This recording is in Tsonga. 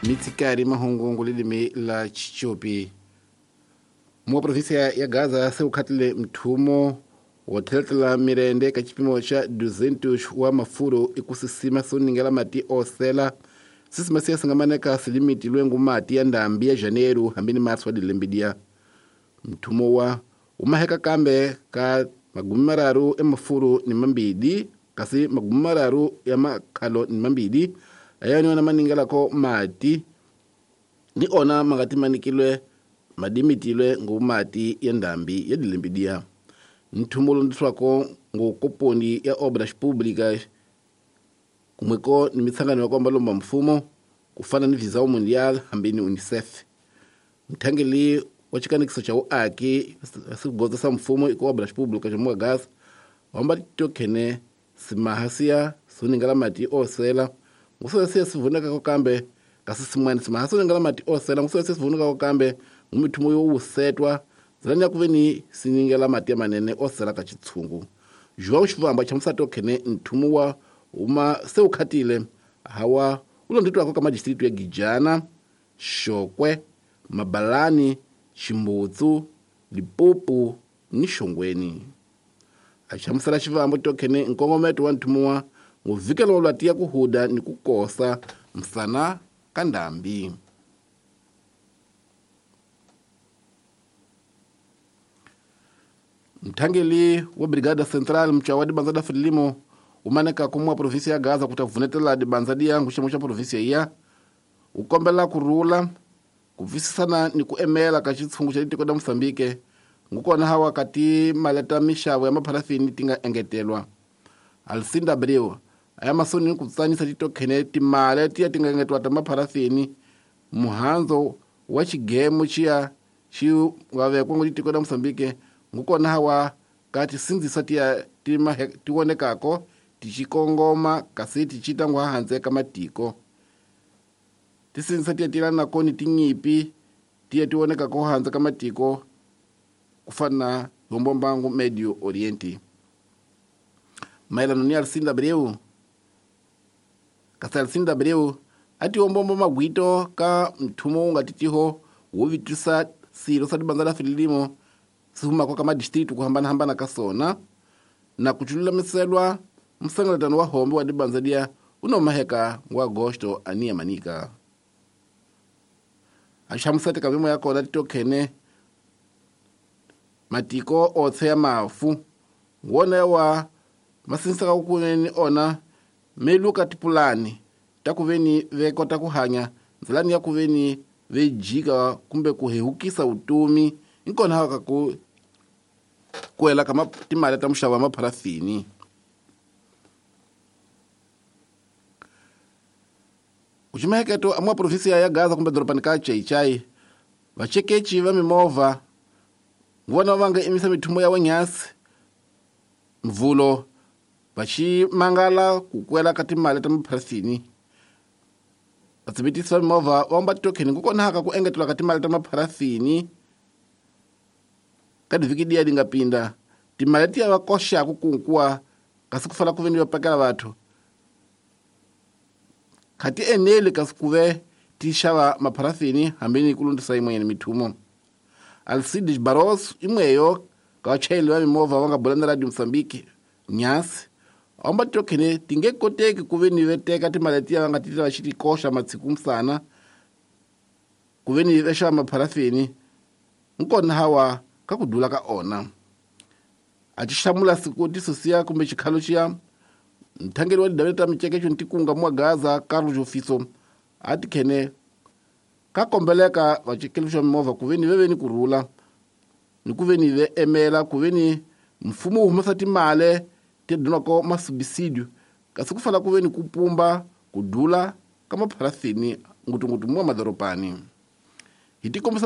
Mitsikari mahungu lilimi la Chichopi. Mwa provinsia ya Gaza se ukhatile mthumo wo theletela mirende ka chipimo xa 200 wa mafuro ikusisima soningela mati osela sisima siya singamaneka silimiti lwengu mati ya ndambi ya janeiro hambini março wa dilembidia. Mthumo wa umaheka kambe ka magumi mararu emafuro ni mambidi kasi magumi mararu ya makhalo ni mambidi ayani ona maningelako mati ni ona mangati manikilwe madimitilwe ngumati ya ndambi ya dilembidia. Nthumo ndiswako ngokoponi ya obras públicas kumweko ni mitsangano ya kwamba lomba mfumo kufana ni Visão Mundial hambini UNICEF. Mthangeli wa chikanikiso cha uaki sigoza sa mfumo iko obras públicas mwa gas wamba tokhene simahasia suningala mati osela ngusosia sivuneka ko kambe kasi simwene simahasia suningala mati osela ngusosia sivuneka ko kambe ngumithumo yo usetwa zilani ya kuveni siningela mati ya manene osela ka chitsungu. João Chivamba chamusato khene nthumo wa uma seukhatile hawa ulonditwa ko kama district ya Gijana, Shokwe, Mabalani, Chimbutsu, Lipopo ni Shongweni. Achamusala Chivamba tokhene nkongometo wa nthumo wa nguvikelo lwa tiya kuhuda ni kukosa msana kandambi. Mthangeli wa Brigada Central mchawa dibanza da Frelimo umaneka kumwa provinsia ya Gaza kutavunetela dibanza diyangu ximo xa provinsia iya ukombela kurula kuvisisana ni kuemela ka xitshungu xa tiko da Mozambique ngukona hawa kati maleta mixavo ya mapharafini tinga engetelwa. Alcinda Abreu aya masoni ku tsanisa titokhene timale tiya tinga engetelwa ta mapharafini muhanzo wa xigemu xiya xi nga vekwa ngo tiko da Mozambique ngukona hawa kati sindzisa tiya tionekako tichikongoma kasi tichita ngwa hanze ka matiko tisindzisa tiya tilana koni tinyipi tiya tionekako hanze ka matiko kufana hombombangu Medio Oriente. Maelano ni Alcinda Abreu kasi Alcinda Abreu ati hombombo magwito ka mthumo unga titiho wo vitisa silo sa dibanza la Frelimo sihuma kwa kama district kuhambana hambana kasona na kuchulula miselwa msangalatano wa hombe wa dibanza dia unomaheka wa agosto ania manika. Ashamusate kabimo yako na titokhene matiko otse ya mafu wona wa masinsa kukuneni ona meluka tipulani takuveni vekota kuhanya nzilani ya kuveni vejika kumbe kuhehukisa utumi inkona haka ku kuela kama timali ta muxavo wa mapharafini. Uchimaheketo amwa provinsia ya Gaza kumbe dorobani ka Chaichai vachekechi va mimovha vona vanga imisa mithumo ya wenyasi mvulo vachimangala kukwela ka timali ta mapharafini. Vatsibitisi va mimovha va omba titokheni kukona haka ku engetelwa ka timali ta mapharafini ka divhiki diya dingapinda timali tiya va koxaku kunkuwa kasi ku fana ku veni va pakela vathu khati eneli kasi kuve ti xava mapharafini hambini ku lundzisa yin'wanyana mithumo. Alcides Barros imweyo ka vachayeri va mimovha va nga bula na Radio Mozambique nyasi omba titokhene ti nge koteki ku veni ve teka timali tiya va nga ti va xi ti koxa matsiku msana ku veni va xava mapharafini nkona hawa ka ku dula ka ona. A ti hlamula siku tisusiya kumbe xikhalo xiya mthangeli wa tidavele ta micekecho ntikunga mwa Gaza Carlos Jofiso a ti khene ka kombeleka vacekeli xa mimovha ku veni ve veni kurhula ni ku veni ve emela ku veni mfumo wu humesa timale ti dunako masubisidio kasi ku fana ku veni ku pumba ku dula ka mapharafini ngutungutu mwa madorobani. Hi tikombisa